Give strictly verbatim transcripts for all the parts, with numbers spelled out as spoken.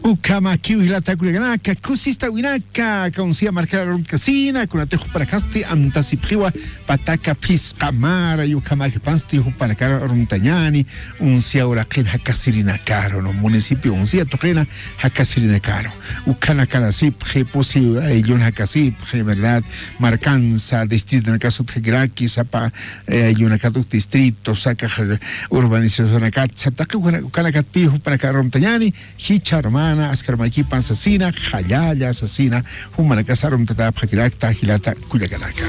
Ukhamakiw jilata kullakanaka, kusistawinaka, aka unsya markar arumtkasina, kunatix jupanakasti amtasipxiwa, pataka phisqa mara, y ukhamakipansti jupanakar arumtañani, unsya uraqin jakasirinakaru, ¿no? Municipio unsya tuqina jakasirinakaru. Ukhanakarasipxi, pusi ayllun jakasipxi, ¿verdad? Markansa, distritonakas utjakiraki, sapa, eh, ayllunakat uk distrito, sakax urbanizacionakat, sataqi ukhana-, ukhanakatpi jupanakar arumtañani, jichha armana, askar maykipan sasina, qallalla sasina, jumanakas arumtatäpxakirakta, jilata kullakanaka.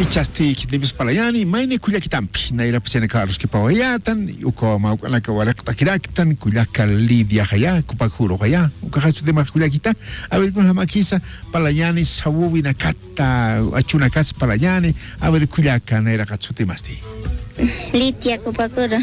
Ichasti khitinimpis parlañani, mayni kullakitampi, nayrapis yanaka aruskipawayätan, uka mawk'anaka waraqt'akiraktan, kullaka Lidiaxaya, Kupaküruxaya, ukaxa sutimax kullakita, a ver, kunjamakisa, parlañani, sawuwinakat, ta, achunakas parlañani, a ver, kullaka, nayraqat sutimasti. Lidia Kupaküru.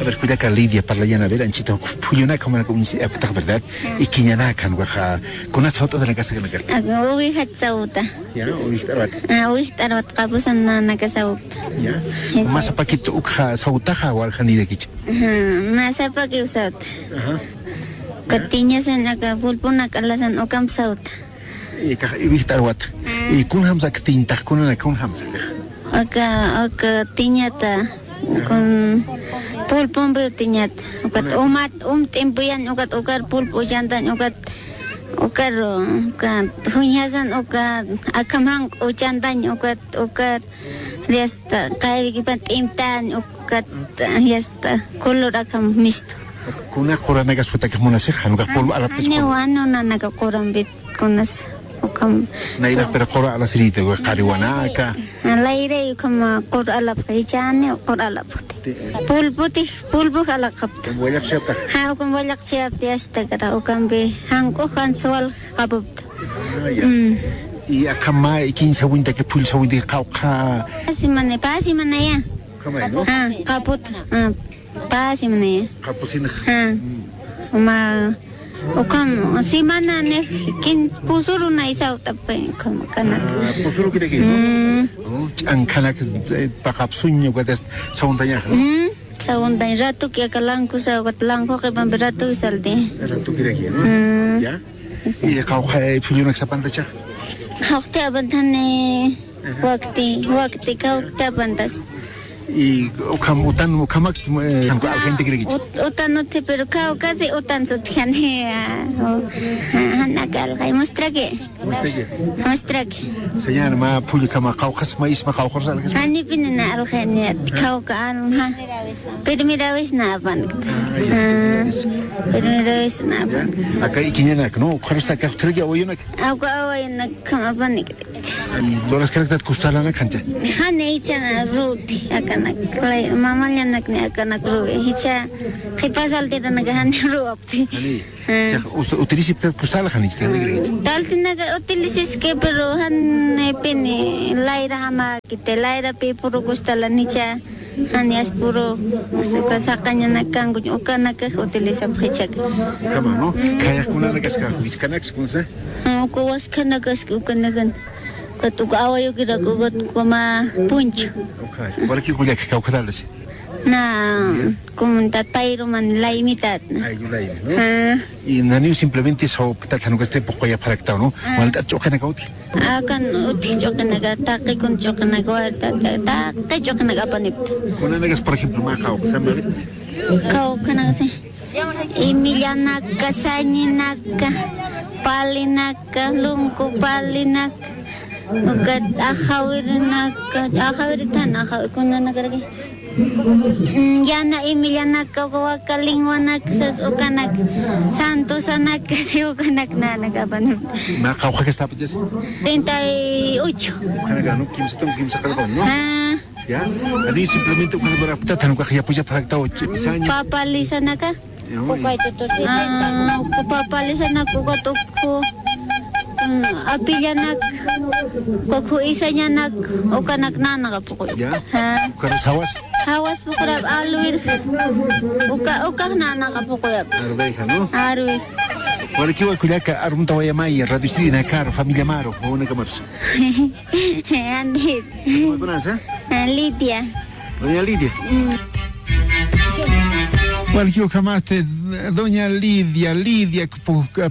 A ver, kullaka Lidia, parlañani, a ver, anchita uk phullunaka, jumanaka uñsi aptax, ¿verdad? Ah. Ikiñanakan, ukaxa, kunas sawt'atanakasa, kanakasta. Aka, uwixat sawta. Ya, uwixt'arwat. Ah, uwixt'arwat, qapusan nanaka sawta. Ya. Esa. Mä sapakit ukxa sawtaxa, waljanirakicha. Ajá, mä sapakiw sawta. Ajá. Uka tiñasan, aka pulpunaka alasan, ukamp sawta. Ikax iwixt'arwata. Mm. Y kunjamsa aka tiñtax, kunanaka kunjamsa aka. Aka, aka tiñata, kun pulpumpiw tiñata. Ukat umat, um t'impuyan, ukat ukar pulp uchantañ, ukat, ukar, ukat juñjasan, ukat akham janq uchantañ, ukat, ukar yasta, qaywikipan t'imtañ, ukat yasta, color akham mistu. Kuna quranakas jutakix munasix, jan ukax pulp alapt'is. Janiw, jan nanaka qurampit kunas, ukham. Nayraqpir qura alasirïta, uka qariwanaka. Layray ukham qur alapxi, jichhani qur alapxti. Pulputix, pulpux alaqapta. Ukham wallaqchiyaptax. Ja, ukham wallaqchiyapti, yasta, kara, ukampi janq'ux jan suwal qapupta. Ah, ya. Mm. Y akham mä ikiñ sawintaki, phull sawintaki, qawqha. Pä semana, pä semanaya. Ukhamay, ¿no? Ah, qaput, ah, pä semanaya. Qapusinax. Ah. Mm. Mä, ukham, semana nix kin pusurunay sawt'apxi, ukham, kanak. Ah, pusurukiraki, ¿no? Mm. Oh, ch'ankhanak, eh, paqapsuñ, ukatas sawuntañax, ¿no? Mm. Sawuntañ ratuki aka lankusa, ukat lanku qhipampi ratuki salti. Ratukiraki, ¿no? Mm. Ya. Esa. Y qawqha, eh, phullunak sapantacha. Qawqti apantani, ajá, wakti, wakti, qawqti apantas. Y ukham, utan, ukhamak, eh, jan uka aljayntakirakicha. Ut-, utan utji, pero qawqha si utan sutjani, ah, oh. Ah, jan aka aljañ, mustraki. Mustraki. Mustraki. Señor, mä phullukhama qawqhas, mä isma qawqhas aljas. Janipini na aljani, qawqha alja. Primera vez na apankta. Ah, ya, primera vez. Ah, primera vez na apankta. Ya. Aka ikiñanak, ¿no? Ukharus aka jutrak awayunak. Aka awayunak apankta. Ay, luraskaraktat kustalanak jancha. Jani, jichha na ruti, akanak, mamallanak ni akanak ruwi. Jichha qhipa saltiranaka jani ruwapti. Jani. Ah. Chiqa, us-, utilisiptat kustal, jani, chiqa, jani. Taltinaka utilisiski, pero janipini layra jamäkiti, layrapi puru kustalanicha, jani, as puru, as uka saqañanak kankuñ, ukanakax utilisapxichak. Ukhama, ¿no? Mm. Khayaqkunanakaska, wiskanakas, kunsa? Ah, uka waskanakaski, ukanakan. Ukat uka awayukirak, ukat uka mä punchu. Okay. Walki kullaka, kawkharalasi. Na, ya, comunidad payruman laymitat. Ay, laymi, ¿no? Ah. Y naniw simplemente sawpktat jan ukasti puquyapxaraktaw, ¿no? Ah. Walt'at ch'uqinaka utji. Akan utji ch'uqinaka, taqi kun ch'uqinaka, wa-, ta-, ta-, taqi ch'uqinaka apanipta. Kunanakas, por ejemplo, mä qawqha, ¿sabe? Qawqhanaka, sí. Imillanaka, sañinaka, palinaka, lunku palinaka, ukat axawirinaka, axawiritan, axawi-, kunanakaraki. Mm, yana imillanaka, uka waka linwanaka, sas ukanak, santusanaka, si ukanak nanaka apanipta. Mä qawqhakasta apachasi? Treinta y ocho. Ukanaka, ¿no? Kimsa tun, kimsa qallqawan, ¿no? Ah. Ya, ani simplemente ukan lurapkta, jan ukax yapuchapxaraktaw, saña. Papalisanaka. Ya, uy. Ah, uka papalisanak, ukat ukhu, mm, apillanak, ukhu isañanak, ukanak nanaka puquy. Ya. Ah. Ukanas jawas. Jawas puqurap alwir. Uka, ukax nanaka puquyap. Arwayxa, ¿no? Arwi. Walikiwa kullaka, arumtawayamay, Radio Siri Nakar, familia Maru, wawanakamarus. Andit. ¿Cómo conoces? Ah, Lidia. Doña Lidia. Mm. Walki ukhamasti doña Lidia, Lidia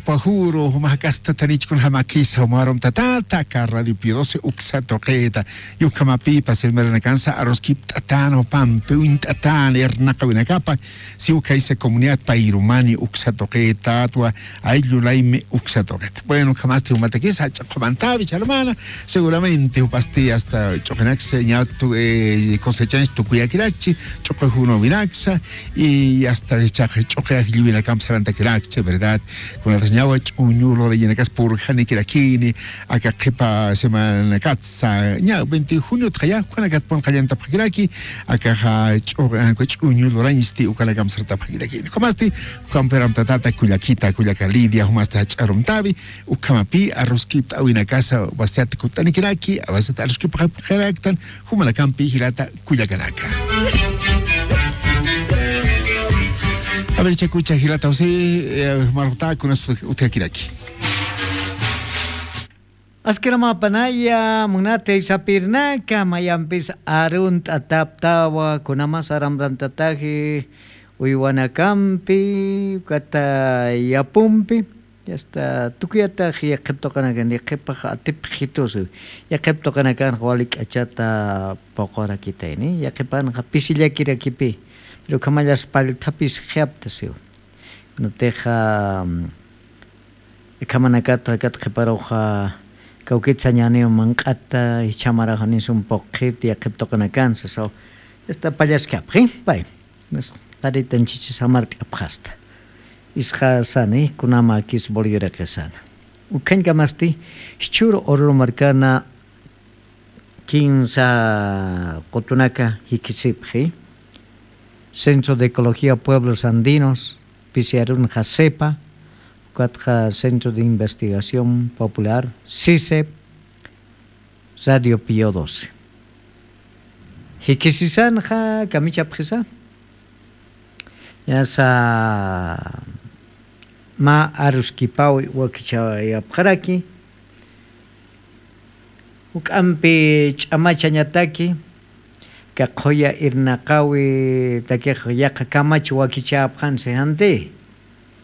Pajuro, jumax kastatanich kunjamakisa, jumarum tatata, aka Radio Pio doce uksa tuqita. Yukhamapipas hermanakansa aruskipt'atan jupampi uñt'atan irnaqawinakapa, si ukhaysa comunidad payrumani uksa tuqitatwa, ayllu laymi uksa tuqita. Bueno, ukhamasti jumatakisa jach'a qhumantawi charmana, seguramente jupasti hasta ch'uqinaksa ña tu- eh, cosechanch tukuyakirakchi, ch'uqi junawinaksa, y hasta ch'uqi ajllwinakamp sarantakirakchi, ¿verdad? Kunatas ñawa ch'uñu lurayinakas purjanikirakini, aka qhipa semanakatsa ña veinte juniotxa ya ukanakat pun qallantapxakiraki, akaxa ch'uñu lurañsti ukanakamp sartapxakirakini. Jumasti, ukampiram tatata kullakita, kullaka Lidia, jumasti jach'arumtawi, ukhamapi aruskipt'awinakasa wasiyat kutt'anikiraki, wasiyat aruskipxakiraktan, jumanakampi jilata kullakanaka. A ver, chakucha jilata José, eh, marxta kunas utjakiraki. Askiramapanaya munati sapirnaka mayampis arunt'ataptawa, kunamas aramrantataji uywanakampi, ukata yapumpi. Yasta tukuyatax yaqhip tuqanakan, yaqhipax atipxitusi. Yaqhip tuqanakanxa wali k'achata puqurakitayni, yaqhipanxa pisillakirakipi, pero ukhamallas pallthapis qhiyaptasiw. Nutixa ukhamanakata kat qhiparuxa kawkit sañaniw manq'ata, jichhamarax nisun puqhit yaqhip tuqanakan sasaw. Yasta pallaskapxi pay. Qaritanchichis jamart'apxasta. Isxasani kunamakis boliviriqisana. Ukhañkamasti jichhür ururu markana kinsa qutunaka jikisipxi, Centro de Ecología Pueblos Andinos, pisiyarun jasepa, ukatxa Centro de Investigación Popular, sisep, Radio Pío doce. Jikisisanxa kamichapxisa. Ñasa mä aruskipaw wakichayapxaraki. Juk'ampi ch'amachañataki, ka qhuya irnaqawitakix yaqha kamach wakichäpxansi janti.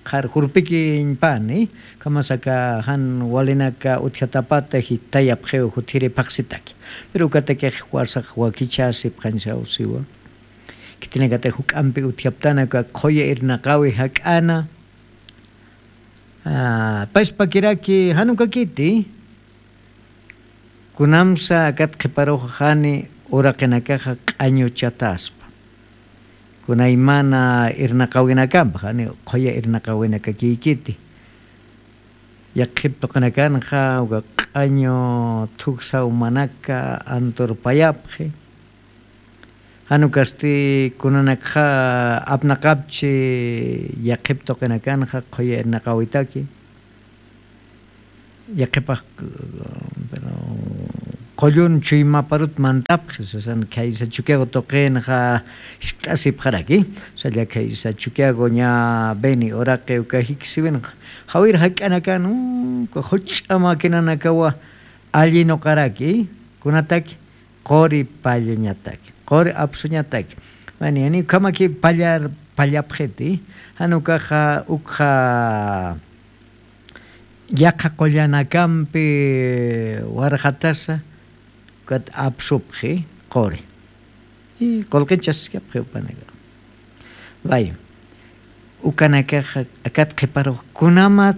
Qhar jurpikiñpani, ukhamasaka jan walinaka utjatapata jitayapxiw jutiri phaxsitaki. Pero ukatakix fuerzax wakichäsipxañsaw siwa. Khitinakatix juk'ampi utjaptana uka qhuya irnaqawi jak'ana. Ah, paspakiraki jan ukakiti. Kunamsa akat qhiparuxa jani uraqinakaxa q'añuchataspa. Kunaymana irnaqawinakampa, jani qhuya irnaqawinakakiykiti. Yaqhip tuqinakanxa uka q'añu thuksa umanaka anturpayapxi. Jan ukasti kunanakxa apnaqapchi yaqhip tuqinakanxa qhuya irnaqawitaki. Yaqhipax, pero, qullun chuymaparut mantapxi, sasan khaysa Chukiyago tuqinxa jiskt'asipxaraki, salla khaysa Chukiyago ña Beni uraqi uka jikisiwinxa, jawir jak'anakan, uka juch'a maquinanakawa allinuqaraki, kunataki, quri pallañataki, quri apsuñataki. Mani, jani ukhamaki pallar, pallapxiti, jan ukaxa, ukxa yaqha qullanakampi warxatasa, ukat apsupxi, quri. Y qullqichaskapxi upanaka. Vaya. Ukanakaxa, akat qhiparux kunamat,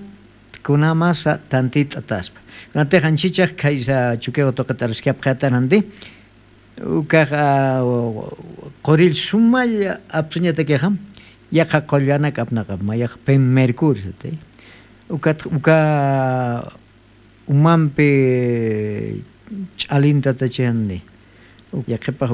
kunamasa tantit'ataspa. Kunatix anchichax khaysa Chukiyago tuqit aruskapxayatan janti. Ukaxa, qurill sumalla apsuñatakixa, yaqha qullanak apnaqap, mayax pim mercurio, sati. Ukat, uka umampi ch'alintatachixanti. Yaqhipax